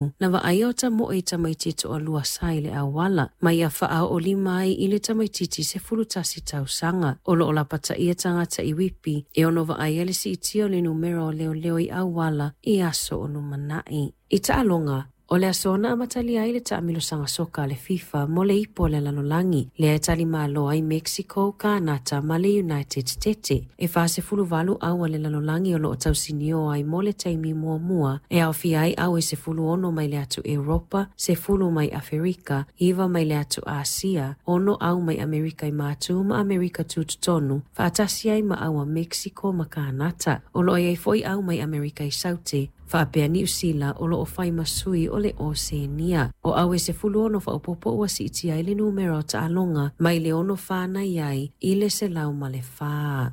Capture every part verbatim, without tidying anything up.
Na vaaia o tamoe i tamaiti toalua sa i le auala, ma ia faaoolima ai i le tamaititi sefulu tasi tausaga. O loo lapataia tagata i Whitby e ono vaaia le siitia o le numera o leoleo i auala i aso o lumanai. I taaloga, o le aso na amatalia ai le taamilosaga soka a le FIFA mo le ipu o le lalolagi, lea e talimalo ai Mexico, Kanata ma le United States. E fasefuluvalu au a le lalolagi o loo tausinio ai mo le taimi muamua, e aofia ai au e sefulu ono mai le atu Europa, sefulu mai Aferika, iva mai le atu Asia, ono au mai Amerika i Matu ma Amerika Tutotonu, faatasi ai ma au a Mexico ma Kanata. O loo iai foi au mai Amerika i Saute, faapea Niu Sila o loo fai ma sui o le Oseania. O au e sefulu ono faaopoopo ua siitia ai le numera o taaloga mai le ono fa na iai i le selau ma le fa.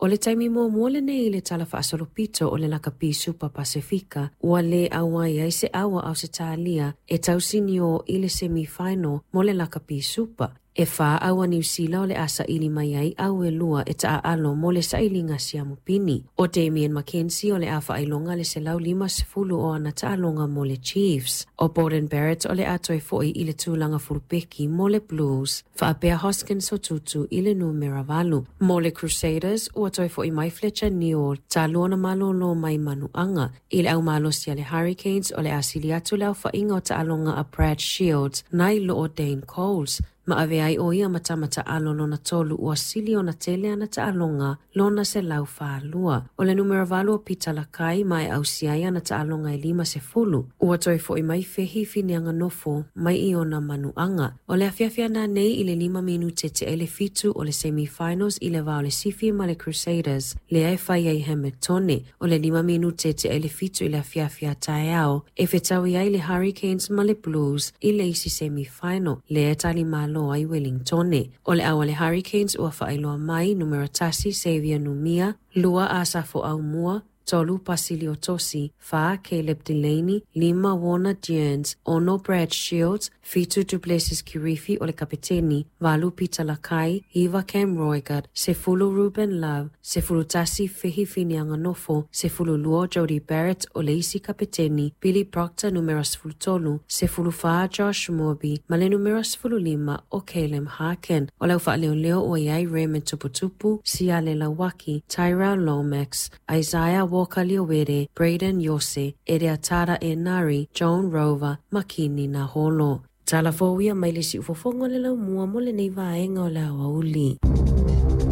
O le taimi muamua lenei i le tala faasolopito o le lakapi Supa Pasifika, ua le auai ai se au a Ausetalia e tausinio i le semi-final mo le lakapi Supa. E fa au a Niu Sila o le a saili mai ai au e lua e taaalo mo le sailiga siamupini. O Damien McKenzie o le a faailoga le selau lima sefulu o ana taaloga mo le Chiefs. O Beauden Barrett o le a toe foi i le tulaga fulupeki mo le Blues. Faapea Hoskins Sotutu i le numera valu. Mo le Crusaders, ua toe foi mai Fletcher Newell, talu ona malolo mai manuaga. I le aumalosi a le Hurricanes o le a sili atu le aofaiga o taaloga a Brad Shields, nai lo o Dane Coles. Ma ave ai o ia matamata alo lona tolu ua sili ona tele ana taaloga lona selau falua. O le numera valu o Peter Lakai ma e ausia ai ana taaloga e lima sefulu. Ua toe foi mai Fehi Fineanganofo mai i ona manuaga. O le afiafi ananei i le lima minute tea i le fitu o le semi-finals i le va o le Sifi ma le Crusaders, lea e fai ai Hamiltone. O le lima minute tea i le fitu i le afiafi a taeao, e fetaui ai le Hurricanes ma le Blues i le isi semi-final, lea e talimalo ai Wellingtone. O le au a le Hurricanes ua faailoa mai: numera tasi Xavier Numia, lua Asafo Aumua, tolu Pasilio Tosi, fa Caleb Delaney, lima Warner Dearns, ono Brad Shields, fitu Duplessis Kirifi o le kapiteni, valu Peter Lakai, iva Cam Roigard, sefulu Ruben Love, sefulu tasi Fehi Fineanganofo, sefulu lua Jody Barrett o le isi kapiteni, Billy Proctor numera sefulu tolu, sefulu fa Josh Moorby, ma le numera sefulu lima o Caleb Harkin. O le au faaleoleo ua iai Raymond Tuputupu, Siale Lawaki, Tyrell Lomax, Isaiah Walker Leawere, Brayden Iose, Ereatara Enari, Joan Rover, Makini Naholo. Tala fou ia mai le siufofoga o le laumua mo lenei vaega o le aoauli.